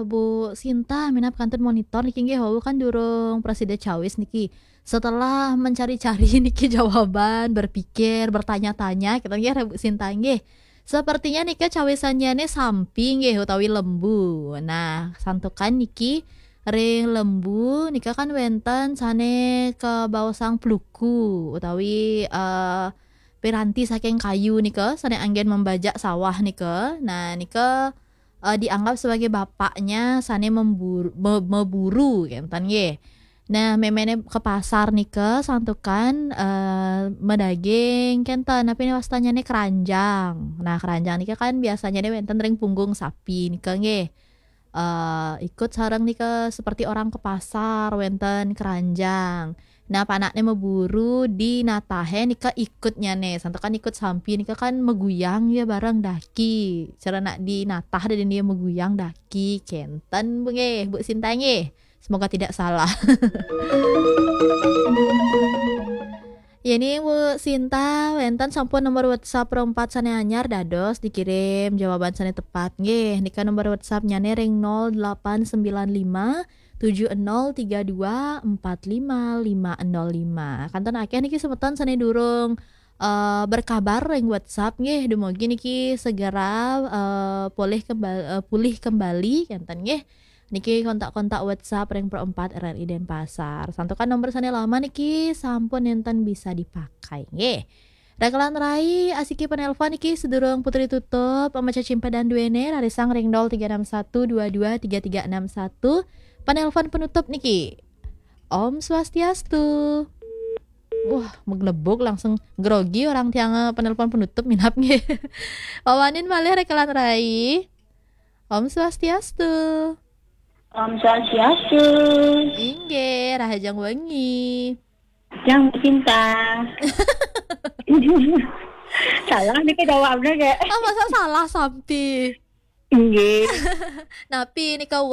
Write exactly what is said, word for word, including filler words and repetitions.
Bu Sinta, minab kantun monitor niki nggih, wau kan durung prasida cawis niki. Setelah mencari-cari niki jawaban, berpikir, bertanya-tanya, kita nggih, Bu Sinta nggih. Sepertinya nika cawisannya nih sampi nggih utawi lembu. Nah, santukan niki ring lembu nika kan wenten sane kabaosang pluku utawi eh, piranti saking kayu nika sane anggen membajak sawah nika. Nah, nika eh, dianggap sebagai bapaknya sane memburu, me- meburu kenten nggih. Nah, memene ke pasar nika santukan eh, medaging kenten, tapi ini wastanyane keranjang. Nah, keranjang nika kan biasanya wenten ring punggung sapi nika nggih. Eh, ikut sareng nika seperti orang ke pasar wenten keranjang. Nah, panakne meburu di natahe nika ikutnyane. Santukan ikut sampi nika kan meguyang ya bareng daki. Cara nak di natah dan dia meguyang daki. Kenten Bu nggih, Bu Sinta nggih. Semoga tidak salah. Ya, ini Bu Sinta, wenten sampun nomor WhatsApp ro empat sane anyar dados dikirim jawaban sane tepat nggih. Nika nomor WhatsApp-nyane ring nol delapan sembilan lima tujuh nol tiga dua empat lima lima nol lima. Kenten akeh niki semeton sane durung eh, berkabar ring WhatsApp nggih, dumugi niki segera eh, pulih kembali, pulih kembali kenten nggih. Niki kontak-kontak WhatsApp ring Pro empat R R I Denpasar. Santukan nomor sane lama niki sampun nenten bisa dipakai nggih. Rekelan Rai asiki penelpon niki sedurung putri tutup, pemaca cimpadan duene rarisang ring nol tiga enam satu dua dua tiga tiga enam satu. Penelpon penutup niki. Om Swastiastu. Wah, meglebuk langsung grogi orang tiang eh, penelpon penutup minab nggih. Wawanin malih Rekelan Rai. Om Swastiastu. Om Swastiastu. Inggih, rahajeng wengi. Yang cinta. Salah nih jawabnya kayak. Oh, masa salah sampi. Inggih. Napi nika